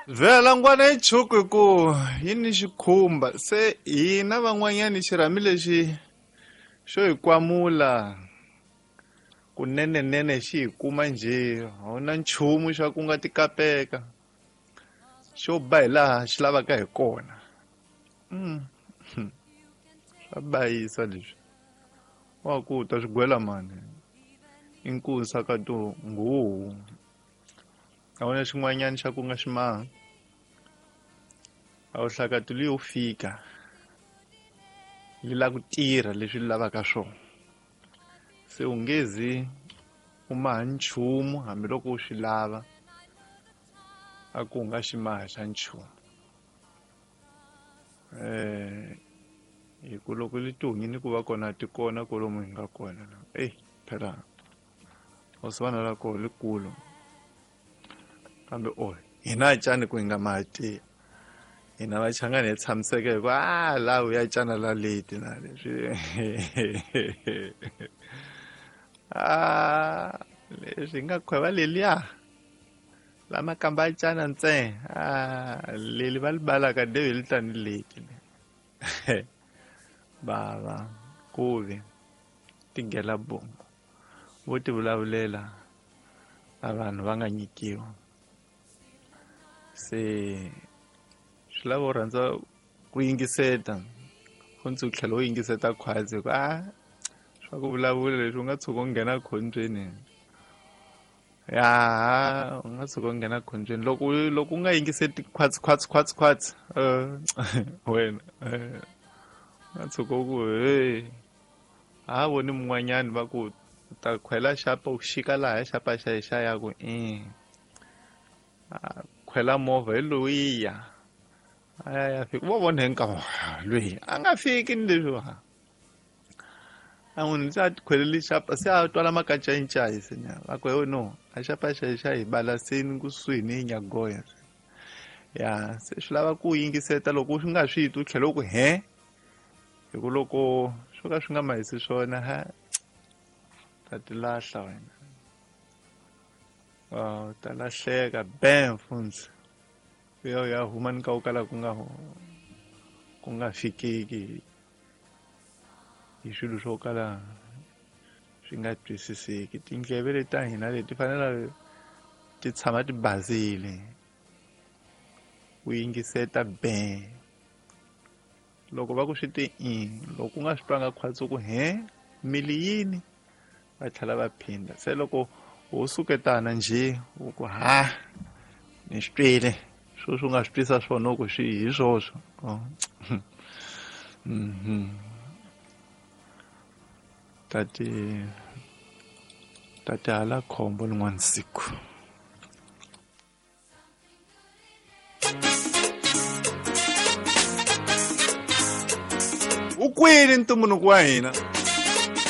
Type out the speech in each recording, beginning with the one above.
Vhela ngwana yi chuku hi ku yi ni xikhumba se hina van'wanyani xirhami lexi xo hi kwamula kunenenene xi hi kuma njhe a wu na nchumu xa ku nga tikapeka xo ba hi laha xi lavaka hi kona. Swa bayisa leswi wa ku ta swi gwela mani i nkusa ka to nguhu a wu na xin'wanyana xa ku nga xi maha a wu hlakati leyo fika li la ku tirha leswi li lavaka swona se u nge zi u maha nchumu hambiloko u swi lava a ku nga xi maha xa nchumu. Hi ku loko li tihunyi ku va kona ti kona kwalomu hi nga kona la eyi phela hosi la koho likulu kambe o hina cani ku hi nga maha tiya hina vachangani hi tshamiseke hi ku a laha u ya cana la leti na leswi a leswi hi nga khweva leliya la makamba a cana ntsena a leli va li balaka deve li tani leti bava kuvi tigela bongo vo ti vulavulela a vanhu va nga nyikiwa se swi lava u rhandza ku yingiseta funtsi u tlhela u yingiseta khwatsi ku a swa ku vulavula leswi u nga tshuka u nghena khombyeni ya u nga tshuka u nghena khombyeni loko loko u nga yingiseti khwatsi khwatsi khwatsi khwatsi wena u nga tshuka u ku hey ha voni mun'wanyani va ku u ta khwela xapa u xika laha xapa xa xa ya ku i khwela movha hi loyiya a ya ya fika vo vona hi nkama loyi a nga fiki ni leswi a n'wi se a tikhweleli xapa se a twala makacayicayi se nya va ku no a xapa xa xa hi balaseni kusuhi ni nyagoya ya se swi lava ku yingiseta loko u nga swi twi u tlhela u ku he hi ku loko swo ka swi nga mahisi swona ha ta ti lahla wena u ta lahleka bam funtsi u ya u ya huma ni ka u kala ku nga fikeki hi swilo swo kala swi nga twisiseki. Tindleve leti ta hina leti fanele ti tshama ti basile u yingiseta be loko va ku swi te i loko u nga swi twanga khwatsi ku he mili yini va tlhela va phinda se loko wo suketana njhe u ku ha ni swi twile sweswi u nga swi twisa swona ku swi hi swoswo tati hala khombo lin'wana siku. U kwini ntumbuluko wa hina?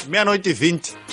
Miano ti 20.